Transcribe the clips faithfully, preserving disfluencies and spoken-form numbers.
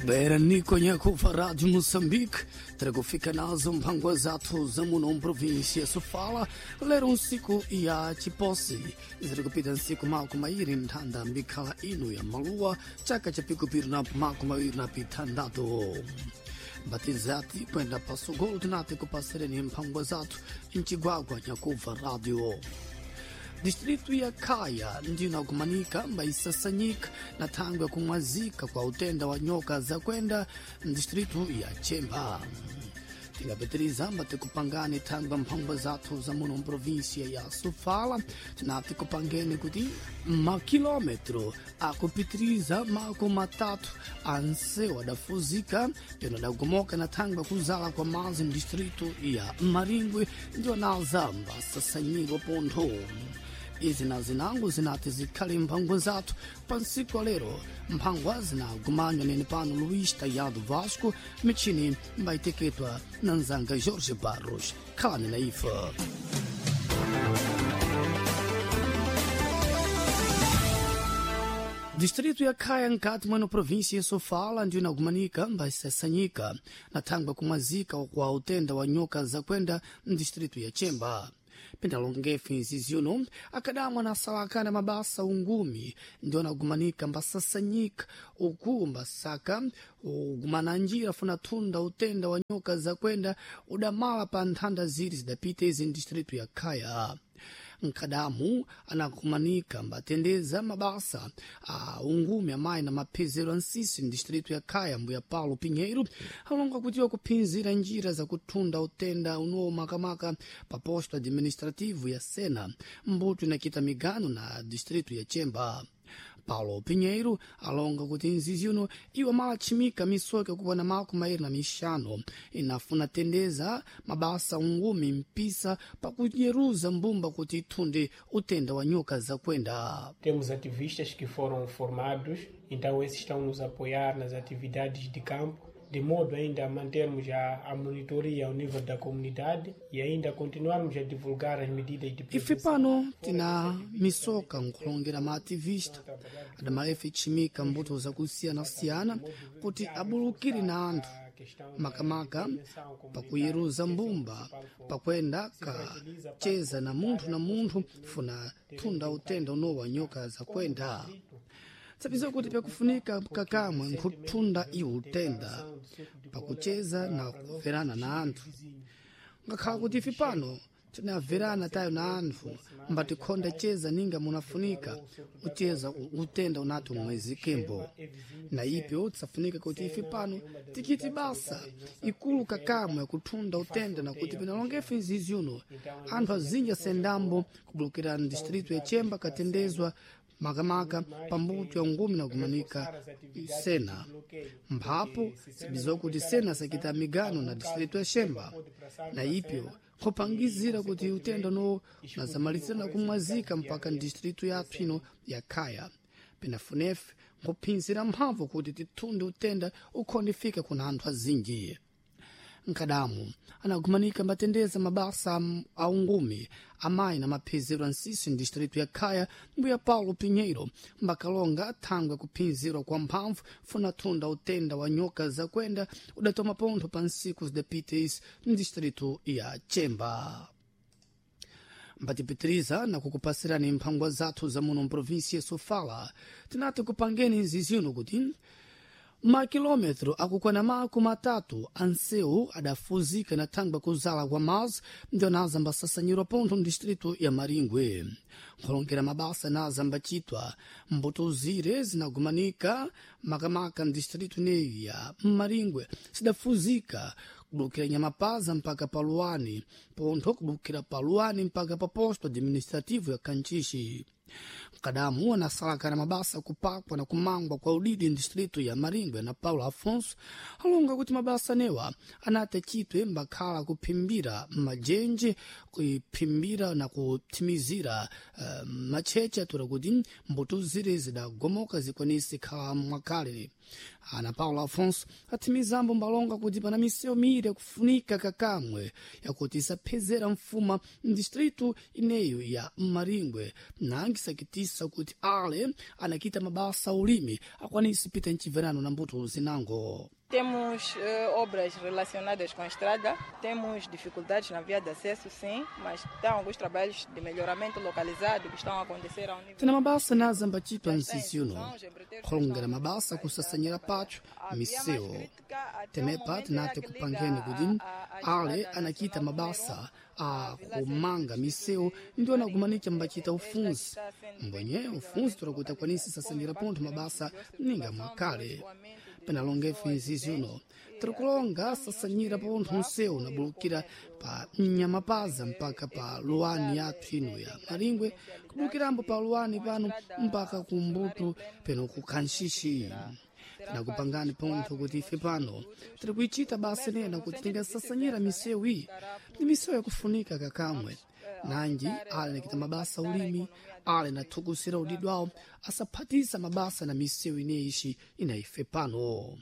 Bera niko nyakufa Rádio Moçambique, trago fica nazo mphangwa zathu za muno mprovíncia Sofala, lero nsiku ya chiposi ziri kupita nsiku mako mairi nthanda mbikhala ino ya maluwa chaka cha pikupiri na mako mawiri na pithandatu mbatizati kwenda pasogolo tinati kupasereni mphangwa zathu mchigwagwa nyakuva radio distritu ya Kaya ndiyo inakumanika mbaisasanyika na thangwe kumwazika kwa utenda wa nyoka za kwenda distritu ya Chemba. Tingapitiriza mbatikupangani thangwe mphangwa zathu za muno mprovinsia ya Sofala, tinati kupangeni kuti makilometro akupitiriza mako matatu anse wadafuzika peno adagomoka na thangwe kuzala kwa mazi mdistritu ya Maringwe ndiyo naza mbasasanyirwa pontho. Izi na zinango zinati zikhale mphangwa zathu pa nsiku lero mphangwa zinagumanywa nene pano Luís Tayado Vasco michini mbayiteketwa na nzanga Jorge Barros khalani na ife. Distrito ya Khaya nkati mweno província ya Sofala ndiyo inagumanika mbaisasanyika na thangwe kumwazika kwa utenda wa nyoka zakwenda mdistrito ya Chemba. Pendalongefe nziziuno akadamwa na salakana mabasa ungumi ndio anagumanika mbasasanyika uku mbasaka ugumana njira funa thunda utenda wa nyoka zakwenda udamala pa nthanda ziri zidapita izi mdistritu ya Khaya. Nkadamu anakumanika mbatendeza mabasa a ungumi amayi na maphezero a nsisi mdistritu ya Khaya mbuya Paulo Pinheiro alonga kuti wakuphinzira njira zakuthunda utenda unowo makamaka pa posto administrativo ya Sena mbuto inakita migano na distritu ya Chemba. Paulo Pinheiro alonga kuti nzizi uno iwo malachimika misoka kuwana mako mairi na mixano inafuna tendeza mabasa ungumi mpisa pakunyeruza mbumba kuti ithunde utenda wa nyoka zakwenda. Temos ativistas que foram formados, então esses estão nos apoiar nas atividades de campo, de modo ainda a mantermos a, a monitoria ao nível da comunidade e ainda continuarmos a divulgar as medidas de Ife pano tina misoka nkulongera maativista adamaefe ichimika mbuto zakusiyana-siyana kuti abulukire na anthu makamaka pakuyeruza mbumba pakwenda kacheza na munthu na munthu funa thunda utenda unowa nyoka zakwenda. Tsapiza kuti pakufunika kakamwe nkuthunda iwo utenda pakucheza na kuverana na anthu ngakhala kuti ife pano tinaverana tayo na anthu mbatikhonda cheza ninga munafunika ucheza utenda unati umwezikembo na ipyo tsafunika kuti ife pano tikiti basa ikulu kakamwe yakuthunda utenda na kuti pinalongefe izizi uno anthu azinji asendambo kubulukira mdistritu ya Chemba katendezwa makamaka pambuto ya ngumi na kumanika Sena mphapo sibiziwa kuti Sena sakita migano na distritu ya Shemba na ipyo khupangizira kuti utenda no unazamalizira na kumwazika mpaka ndistritu yathu ino ya Khaya pinafunefe nkuphinzira mphamvu kuti tithunde utenda ukhondifika kuna anthu azinji. Nkadamu anagumanika mbatendeza mabasa a ungumi amayi na maphezero a nsisi mdistritu ya Khaya mbuya Paulo Pinheiro mbakalonga thangwe kuphinzirwa kwa mphamvu funa thunda utenda wa nyoka zakwenda udatoma pontho pa nsiku zidapita isi mdistritu ya Chemba. Mbatipitiriza na kukupasirani mphangwa zathu za muno mprovinsia ya Sofala tinati kupangeni nzizino kuti makilometro akukwana mako matatu ansewu adafuzika na thangwe kuzala kwa mazi ndio naza mbasasanyirwa pontho mdistritu ya Maringwe. Nkhulongera mabasa naza mbachitwa mbuto zire zinagumanika makamaka mdistritu neyi ya Maringwe sidafuzika kubulukira Nyamapaza mpaka Paluani pontho kubulukira Paluani mpaka pa posto administrativo ya Kanchishi. Mkadamu anasalakana mabasa kupakwa na kumangwa kwa udidi ndistritu ya Maringwe na Paulo Afonso alonga kuti mabasa newa anati achitwe mbakhala kuphimbira majenje kuphimbira na kuthimizira uh, macheche atura kuti mbuto zire zidagomoka zikwanise khala mwakale. Ana Paulo Afonso athimizambo mbalonga kuti pana misewu miiri yakufunika kakamwe yakuti isaphezera mfuma mdistritu ineyo ya Maringwe, nangi sakitisa kuti ale anakita mabasa a ulimi akwanise pita mchibverano na mbuto zinango. Temos eh, obras relacionadas com a estrada, temos dificuldades na via de acesso, sim, mas tem alguns trabalhos de melhoramento localizado que estão a acontecer ao nível. Tena mabasa na zambachitwa msisi uno khulongera mabasa kusasanyira patho misewu tenepa tinate kupangeni kuti ale anachita mabasa a kumanga misewu ndio anakumanica mbachita ufunzi mbwenye ufunzi tulakuti akwanise sasanyira pontho mabasa ninga mwakale. Penalongefe nzizi uno tirikulonga sasanyira pontho nsewu nabulukira pa Nyamapaza mpaka pa luwani yathu ino ya Maringwe, kubulukirambo pa luwani pano mpaka kumbuto peno kukhanxixi. Tinakupangani pontho kuti ife pano tiri kuichita basa nena kuti tingasasanyira misewu iyi ni misewu yakufunika kakamwe, nanji ale nakita mabasa ulimi ale nathukusira udidwawo awo asaphatisa mabasa na misewu ineishi ina ife pano.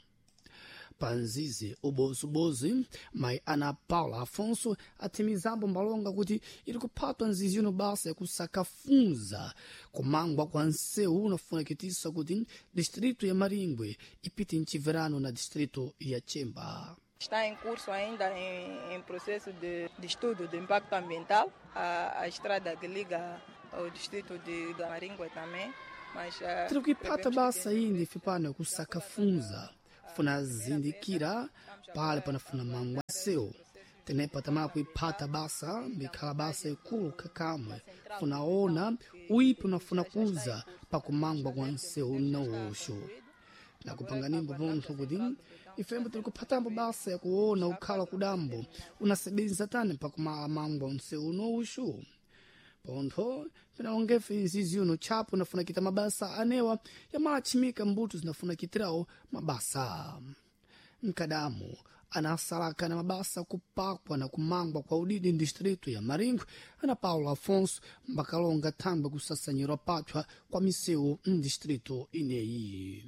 Panzizi ubozibozi mayi Ana Paula Afonso athimizambo mbalonga kuti iri kuphatwa nzizi ino basa yakusakafunza kumangwa kwa nsewu unafunakitisa kuti distrito ya Maringwe ipite mchibverano na distrito ya Chemba. Está em curso ainda, em, em processo de, de estudo de impacto ambiental, a, a estrada que liga ao distrito de Maringwe também. Mas, uh, tiri kuipata basa ainda ife pano yakusakafunza funa zindikira pale panafuna mangwa nsewu tenepa tamala kuiphata basa mbikhala basa ikulu kakamwe funaona uipi unafuna kuza pakumangwa kwa nsewu nauxo. Nakupanganimbo pontho kuti ifembo tiri kuphatambo basa yakuona ukhala kudambo unasebenza tani pakumala mangwa nsewu unouxu. Pontho pinalongefe nzizi uno tchapo unafuna kita mabasa anewa yamalathimika mbuto zinafuna kitirawo mabasa. Mkadamu anasalaka na mabasa kupakwa na kumangwa kwa udidi ndistritu ya Maringwe, Ana Paulo Afonso mbakalonga thangwe kusasanyirwa pathwa kwa misewu mdistritu ineyi.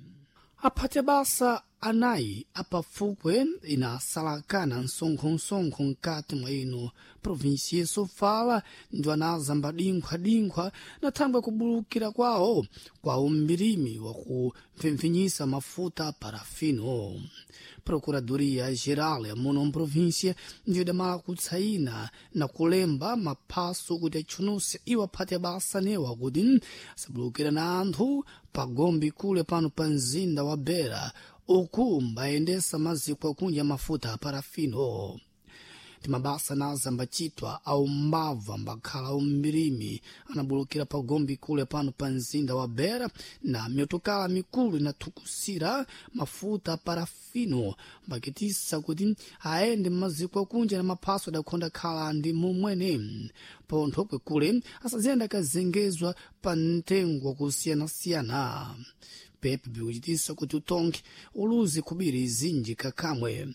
Aphate basa anayi apafukwe inasalakana msonkho-msonkho mkati mwa ino provinsi ya Sofala ndio anazamba dinkhwa-dinkhwa na thangwe kubulukira kwawo kwa umbirimi wa kupfempfinyisa mafuta parafino. Procuradoria Geral ya muno mprovinsia ndiyo idamala kutsaina na kulemba maphaso kuti atchunuse iwo aphate basa newa kuti asabulukira na anthu pagombe kule pano pa mzinda wa Beira uku mbayendesa maziko akunja mafuta a parafino. Timabasa nazambachitwa au mbava mbakhala umbirimi anabulukira pagombe kule pano pa mzinda wa Beira na miyotokala mikulu inathukusira mafuta a parafino mbakitisa kuti aende mmaziko akunja na maphaso adakhonda khala ndi mumwene pontho kwekule asaziyenda akazengezwa pa mtengo wakusiyanasiyana. Pepe bikuchitisa kuti utonke uluzi kubiri zinji kakamwe.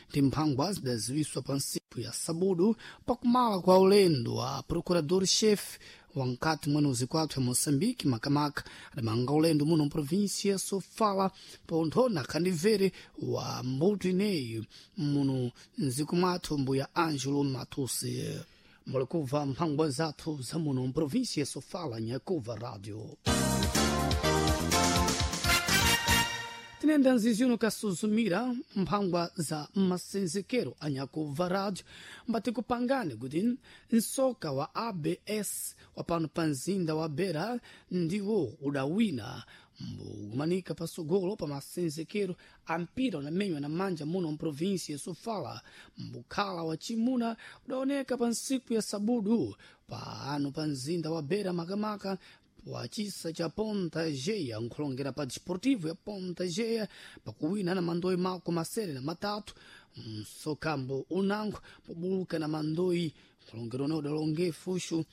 Ndi mphangwa zidaziwiswa pa nsipu ya sabudu pakumala kwa ulendo wa procurador-chefe wankati mwene uzikwathu ya Moçambique makamaka adamanga ulendo muno mprovinsia ya Sofala pontho na khandivere wa mbuto ineyi muno mziku mwathu mbuya Angelo Matusi. Mulikuva mphangwa zathu za muno mprovinsia ya Sofala nyakuva radio. Tinenda nzizi uno kasuzumira mphangwa za masenzekero anyakuva rádio mbati kupangane kuti nsoka wa A B S wa pano pa mzinda wa Beira ndiwo udawina mbukumanika pasogolo pa masenzekero a mpira unamenywa na manja muno mprovinsi ya Sofala mbukhala wa chimuna udaoneka pa ntsiku ya sabudu pano pa mzinda wa Beira makamaka wa chisa cha Ponta Geia nkhulongera pa Desportivo ya Ponta Geia pakuwina na mandoyi mako masere na matatu msokambo unango pobuluka na mandoyi nkhulongero one udalonge fushu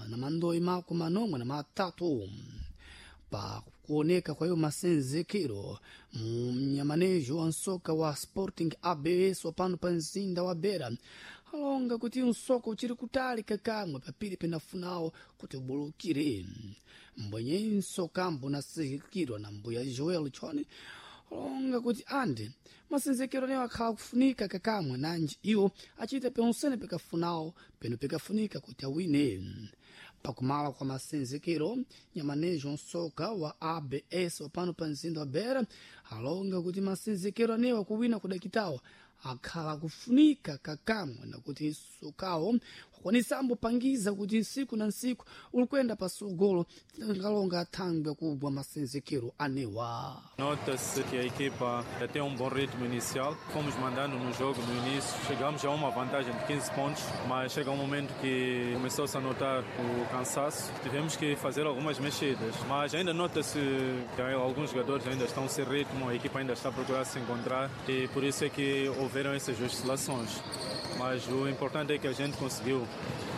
na mandoyi mako manomwe na matatu. Pa kuoneka kwa hiyo masenzekero mnyamanejo wa nsoka wa Sporting A B S wapano pa mzinda wa Beira alonga kuti msoko uchiri kutali kakamwe papiri penafunawo kuti ubulukire. Mbwenye nsokambo nasikirwa na mbuya Joel Chone Kulonga kuti ande masenzekero anewo akhala kufunika kakamwe nanji iwo achita ponsene pekafunawo peno pekafunika kuti awine. Pakumala kwa masenzekero, nyamanejo nsoka wa A B S wapano pa mzinda wa Beira alonga kuti masenzekero anewo akuwina kudakitawo akhala kufunika kakamwe nakuti sokawo wakwanisambo pangiza kuti nsiku na nsiku ulikwenda pasogolo tingalonga athangwe kugwa masenzekero anewa. Nota-se que a equipa tem um bom ritmo inicial. Fomos mandando no jogo no início, chegamos a uma vantagem de quinze pontos, mas chega um momento que começou-se a notar o cansaço. Tivemos que fazer algumas mexidas, mas ainda nota-se que alguns jogadores ainda estão sem ritmo, a equipa ainda está a procurar se encontrar e por isso é que houveram essas oscilações. Mas o importante é que a gente conseguiu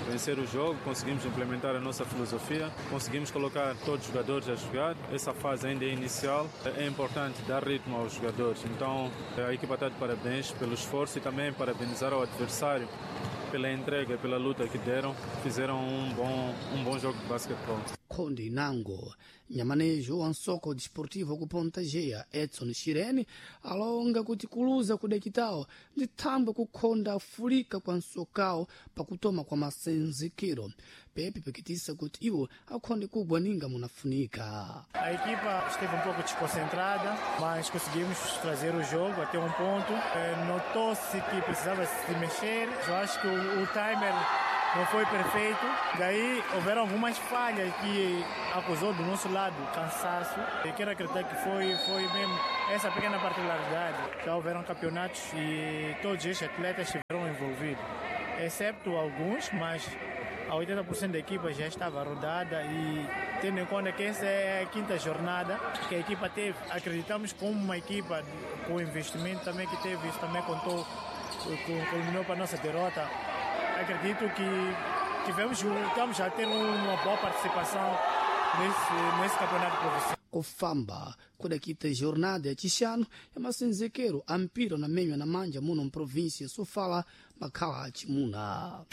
vencer o jogo, conseguimos implementar a nossa filosofia, conseguimos colocar todos os jogadores a jogar. Essa fase ainda é inicial, é importante dar ritmo aos jogadores. Então a equipa está de parabéns pelo esforço e também parabenizar ao adversário pela entrega, pela luta que deram. Fizeram um bom, um bom jogo de basquetebol. Khonde inango nyamanejo wa nsoko desportivo ku Ponta Geia, Edson Shirene, alonga kuti kuluza kudakitawo ndi thambwe kukhonda afulika kwa nsokawo pakutoma kwa masenzekero pepe pikitisa kuti iwo akhonde kugwa ninga munafunika. A equipa esteve um pouco desconcentrada, mas conseguimos trazer o jogo até um ponto. Notou-se que precisava se mexer. Eu acho que o, o timer não foi perfeito. Daí houveram algumas falhas que acusou do nosso lado cansaço. Eu quero acreditar que foi, foi mesmo essa pequena particularidade. Já houveram campeonatos e todos estes atletas estiveram envolvidos, excepto alguns, mas a oitenta por cento da equipa já estava rodada e, tendo em conta que essa é a quinta jornada que a equipa teve, acreditamos como uma equipa com investimento também que teve, isso também contou, culminou para a nossa derrota. Acredito que tivemos, estamos a ter uma boa participação nesse, nesse campeonato provincial. Kufamba kudakita jornada ya chixano ya masenzekero a mpira na menywa na manja muno mprovíncia Sofala makhala acimuna.